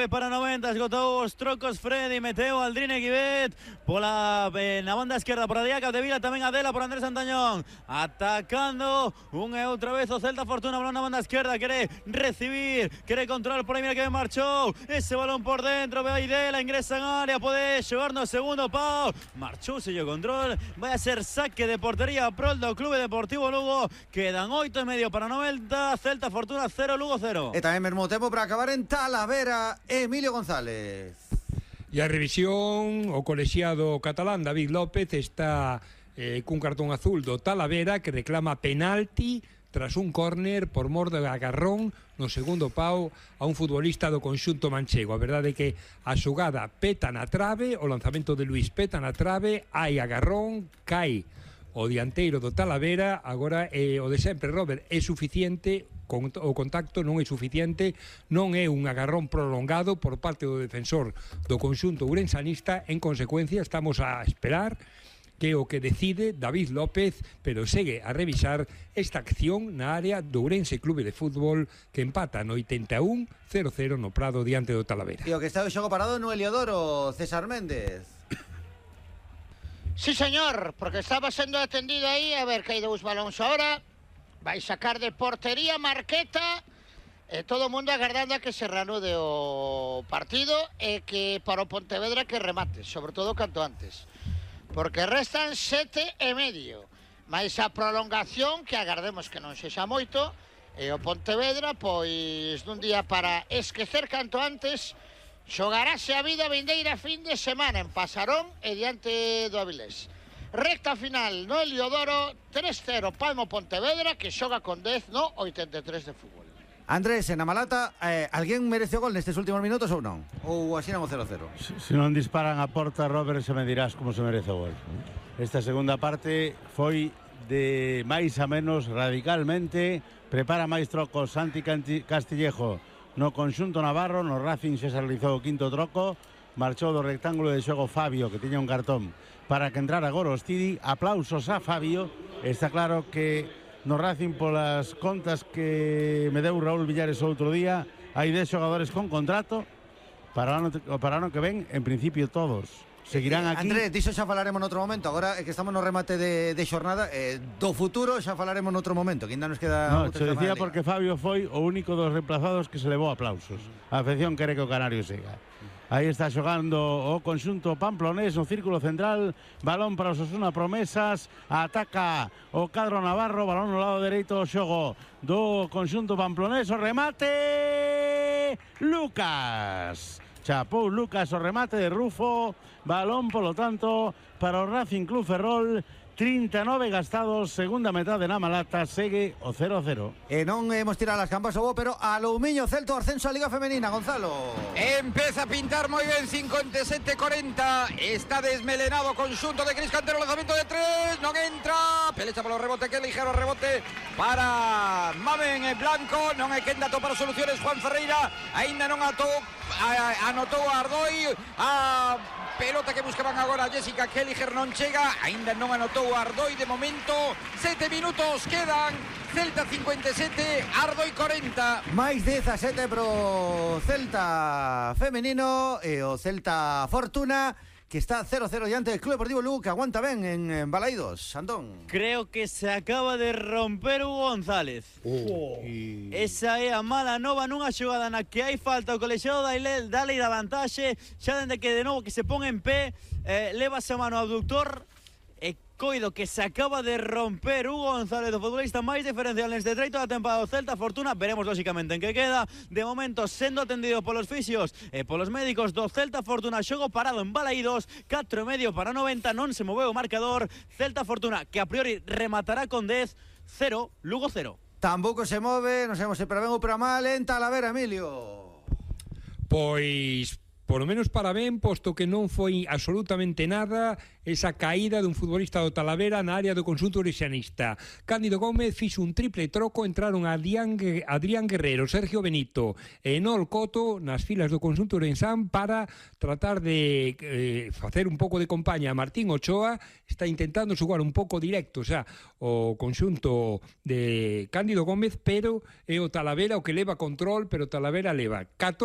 para 90, esgotou os trocos Freddy, meteu Aldrine Guibet na banda esquerda por Adrià Capdevila, tamén Adela por Andrés Antañón, atacando unha e outra vez o Celta Fortuna, balón na banda esquerda, quere recibir, quere control por aí, mira que marchou ese balón por dentro, ve aí Dela, ingresa en área, pode xogar no segundo pau, marchou sello control, vai a ser saque de portería prol do Clube Deportivo Lugo, quedan 8:30 para 90, Celta Fortuna 0, Lugo 0. E tamén mesmo tempo para acabar en Talavera, Emilio González. E a revisión, o colexiado catalán David López está cun cartón azul do Talavera que reclama penalti tras un córner por mor de agarrón no segundo pau a un futbolista do conxunto manchego. A verdade é que a xogada peta na trave, o lanzamento de Luís peta na trave, hai agarrón, cae o dianteiro do Talavera, agora o de sempre, Robert, é suficiente, o contacto non é suficiente, non é un agarrón prolongado por parte do defensor do conxunto ourensanista, en consecuencia estamos a esperar que o que decide David López, pero segue a revisar esta acción na área do Ourense Clube de Fútbol que empata no 81, 0-0 no Prado diante do Talavera. E o que está o xogo parado no Heliodoro, César Méndez. Sí, señor, porque estaba sendo atendido aí, a ver que hai dous balóns ahora, vai sacar de portería Marqueta, e todo o mundo agardando a que se reanude o partido e que para o Pontevedra que remate, sobre todo canto antes, porque restan 7:30, máis a prolongación que agardemos que non sexa moito, e o Pontevedra, pois dun día para esquecer canto antes, xogarase a vida vindeira fin de semana en Pasarón e diante do Avilés. Recta final no Heliodoro, 3-0 Palmo Pontevedra, que xoga con 10 no 83 de fútbol. Andrés, en Amalata, alguén merece o gol nestes últimos minutos ou non? Ou así non o 0-0? Se non disparan a porta, Robert, se me dirás como se merece o gol. Esta segunda parte foi de máis a menos radicalmente, prepara máis trocos Santi Castillejo no conxunto navarro, no Racing xa se realizou o quinto troco, marchou do rectángulo de xogo Fabio, que tiña un cartón, para que entrara Gorostidi. Aplausos a Fabio. Está claro que no Racing, polas contas que me deu Raúl Villares outro día, hai 10 xogadores con contrato para o ano que ven, en principio todos seguirán aquí. Andrés, diso xa falaremos noutro momento. Agora é que estamos no remate de xornada, do futuro xa falaremos noutro momento, que ainda nos queda. No, se decía porque Fabio foi o único dos reemplazados que se levou aplausos. A afección quere que o Canario siga. Aí está xogando o conxunto pamplonés no círculo central, balón para o Osasuna Promesas, ataca o cadro navarro, balón no lado dereito do xogo do conxunto pamplonés, o remate Lucas. Chapou Lucas o remate de Rufo, balón polo tanto para o Racing Club Ferrol, 39 gastados, segunda metade na Malata, segue o 0-0. E non hemos tirado as campas ao bo, pero a Loumiño Celta, ascenso a Liga Femenina, Gonzalo. Empeza a pintar moi ben, 57-40, está desmelenado o conxunto de Cris Cantero, lanzamento de 3, non entra, pelecha polo rebote, que ligero rebote para Maven Blanco, non hai quen dato para soluciones, Juan Ferreira, aínda non anotou a Ardoi, a pelota que buscaban agora Jessica Kelliger non chega, aínda non anotou Ardoi de momento, 7 minutos quedan, Celta 57, Ardoi 40. Máis 17 pro Celta femenino e o Celta Fortuna, que está 0-0 diante del Club Deportivo Lugo, que aguanta ben en Balaídos. Andón. Creo que se acaba de romper Hugo González. Esa é a mala nova nunha xogada na que hai falta o colexiado dale a vantaxe, xa dende que de novo que se pon en pé, levase a mano ao abductor, e coido que se acaba de romper Hugo González, o futbolista máis diferencial neste treito da temporada do Celta Fortuna. Veremos lóxicamente en que queda. De momento sendo atendido polos fisios e polos médicos do Celta Fortuna, xogo parado en Balaídos, 4:30 para 90, non se moveu o marcador. Celta Fortuna, que a priori rematará con 10, 0, Lugo 0. Tampouco se move, non sabemos se para ben ou para mal en Talavera, Emilio. Pois polo menos para ben, posto que non foi absolutamente nada esa caída dun futbolista do Talavera na área do conxunto orexanista. Cándido Gómez fixo un triple troco, entraron Adrián Guerrero, Sergio Benito e Nol Coto nas filas do conxunto orensán para tratar de facer un pouco de compañía a Martín Ochoa. Está intentando xogar un pouco directo xa o conxunto de Cándido Gómez, pero é o Talavera o que leva control, pero o Talavera leva 14